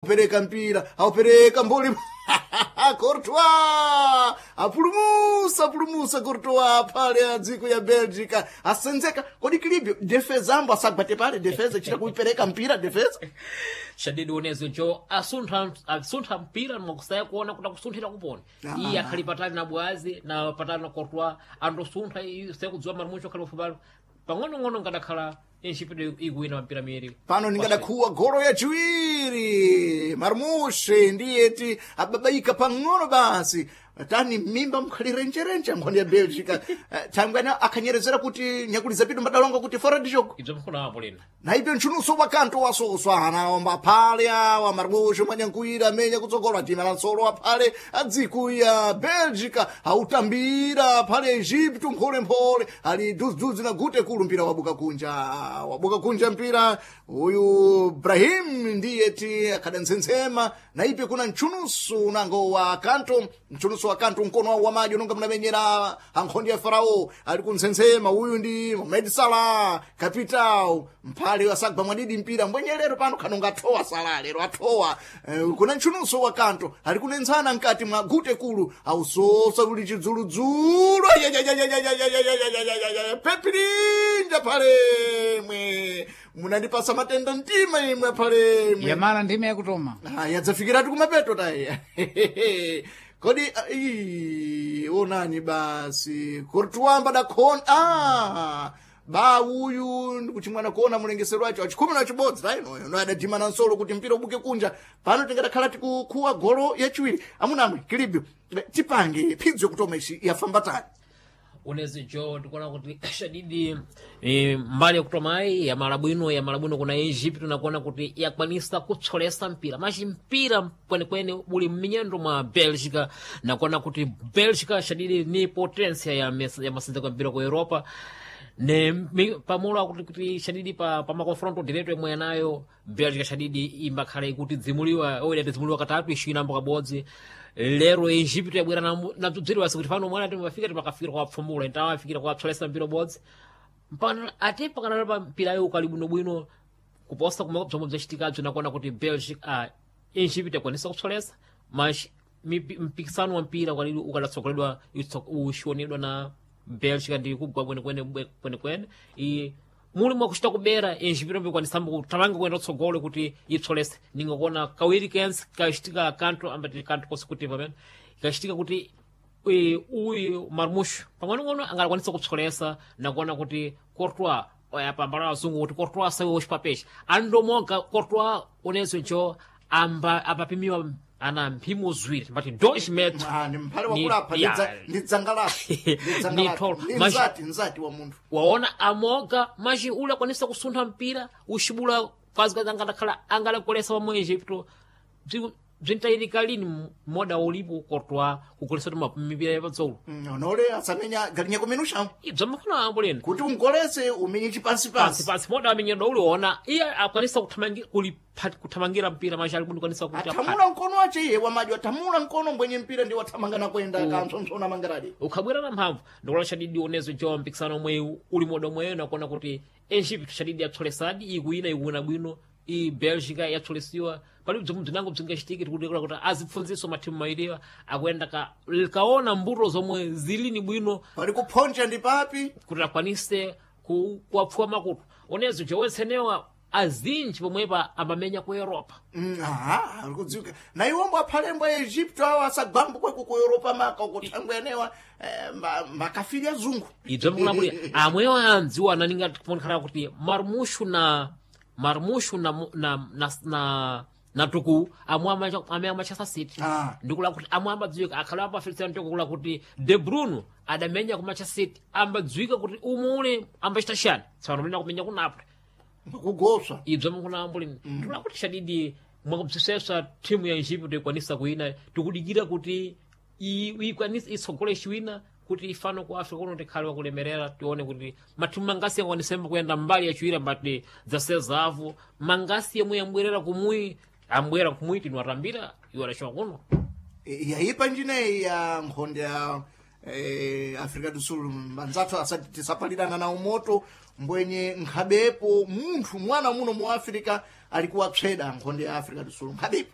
Aupereka mpira, aupereka mboli. Courtois apulumusa, apulumusa Courtois pale a dziko ya Belgica asenzeka. Kodi kilibyo defesa ambo asagwate pale defesa chita kuipereka mpira defesa. Shadidi unezo jo asuntha, asuntha mpira mwakusaya kuona kuti akusunthira kuponi. Iye akhali patali na bwazi na patali na Courtois, andosuntha iye kudziwa marmucho akhali pafupalo pang'onong'ono ngadakhala Egypt ikuwina mpira miwiri. Pano ningadakhuwa golo yachiwiri. Marmushe ndiyeti ababaika pang'ono basi tani mimba mkhalirenjerenje nkhoni ya Belgica. Thangwana akhanyerezera kuti nyakuliza pitu mbadalonga kuti fora ndichoko. Ibzo mkhona apo lina. Naipe ntchunuso wakanto wasoswa anaomba aphale awa Marmushe mwanyankuira amenya kutsogola tima la nsolo aphale adziko ya Belgica autambira aphale Egypto mpholemphole ali dudzudzi na gute kulu mpira wabuka kunja, wabuka kunja mpira uyu Brahim ndiyeti akhadantsensema. Naipe kuna ntchunusu unango wa kanto, ntchunusu wa kanto mkono wawo wamaji unonga munamenyera ankhondi ya Farao ali kuntsensema. Uyu ndi Mohamed Salah capital mphale wasagwa mwadidi mpira mbwenyelero pano khanonga athowa Salah lero athowa. Kuna ntchunuso wa kanto ali kunenzana mkati mwa gute kulu ausosa kuli chidzuludzulu pepirinja phalemwe munandipasa matenda mtima imwe phalemwe. Yamala ndime yakutoma. Ah, yadzafikiratu kumapeto tayi. Kodi onani basi Courtois mbadakhona ba uyu ndikuti mwana kuona mulengesero wacho achikhumi na chibodzi tainoyo no adadima na nsolo kuti mpira ubuke kunja. Pano tingadakhala tikukhuwa golo yachiwiri. Amunamwe kilibyo tipange phidzo kutoma ici yafamba tani. Unezi jo ndikuona kuti shadidi mbali yakutomayi yamala bwino, yamala bwino kuna Egypt nakuona kuti yakwanisa kutsolesa mpira machi mpira kwenekwene uli mminyendo mwa Belgica nakuona kuti Belgica shadidi ni potensia ya masenzeko ya mpira ku Europa ne pamulo akuti kuti shadidi pa makonfronto direto imwe yanayo Belgica shadidi imbakhala ikuti dzimuliwa oida tidzimuliwa katatu ishinambo kabodzi. Lero Egypt yabwera na bzibziri kuti pano mwana timafika timakafikira kwa pfumula intawafikira kwa psolesa mpira bodzi mpano ati pakanalo pa mpirayo ukali bwinobwino kuposa kumwe bzomwe bzachitikabzo nakuona kuti Belgica Egypt yakwanisa kupsolesa mas mpikisano wa mpira ukalili ukadatsogoledwa uxionedwa na Belgica ndi kugwa kwenekwene kwenekwene i muli mwakuchita kubera Egypt mbikwanisamba kuthamanga kuyenda kutsogolo kuti ipsolese ningakuona kawiri kense kachitika kanto ambati kanto consecutive pamene kachitika kuti uyu Marmush pang'onong'ono angalakwanisa kupsolesa nakuona kuti Courtois yapambala azungu kuti Courtois sawe woxipapexa andomoga Courtois unezo njo amba apapimiwa ana mphimo ziwiri mbati 2 metros. Ah, ni mphale wakulapha ndi dzanga lapo Ni tholo. ndi nzati, nzati wa munthu. Waona amoga maji ule akwanisa kusuntha mpira uxibula kwazi angadakhala angalakolesa wa mu Egypto bzintayirika lini moda ulipo Courtois kukolesa kuti mipira yapatsolo. Onole asamenya galinya kumenusha Ibzo makhona ambo lini kuti ungolese umenye chipansi pansi pansi pansi moda amenyedwa uliona iye akwanisa kuthamangira mpira maji ali kundikwanisa kuti aphate. Athamula mkono wache iye wamaji athamula mkono mbwenye mpira ndi wathamanga nakwenda kantsontsona mangaradi. Ukhabwera na mphamvu ndikuona shadidi unezo jo mpikisano omwe uli moda omweyo nakuona kuti Egypt shadidi yapsolesadi ikuwina, ikuwina bwino i Belgica yapsolesiwa pali bzomwe bzinango bzingachitike tikudikira kuti azipfunziso mathimu mawiriwa akuyenda kaona mbuto zomwe zilini bwino pali kuphonja ndi papi kuti akwanise kuwapfuwa makutu unezo jo wensenewa azinji pomwepa amamenya ku Europa. Aha, ari kudziwika na iwombo aphalembo a Egypto awo asagwambo kweko ku Europa maka uko thangwe enewa makafiri azungu. Ibzo mkulamulira amwewo andziwa ananinga timonekhala kuti Marmushu na Marmushu na tuku amwe amwe Manchester City. Ndikula kuti amwe ambadziwika akhala ambafelisana ndikula kuti De Bruyne adamenya ku Manchester City ambadziwika kuti umule ambachita chani tsopano mlina kumenya ku Napoli. Kugoswa. Ibzo mkunambulini ndikula kuti shadidi mwakubzisesa timu ya Egypt ikwanisa kuina tikudikira kuti ikwanise itsogole chiwina kuti ifano ku Africa kuno tikhale wakulemerera tione kuti mathimu mangasi akwanisembe kuyenda mbali yachiwira mbati zasezavu mangasi yemwe yambwerera kumuyi ambwera kumuyi tinu atambira iwo adachoka kuno. Yayipa njineyi ya nkhonde ya Africa do Sul anzathu asati tisapalirana nawo moto mbwenye nkhabepo munthu mwana muno mu Africa alikuwa pseda nkhonde ya Africa do Sul nkhabepo.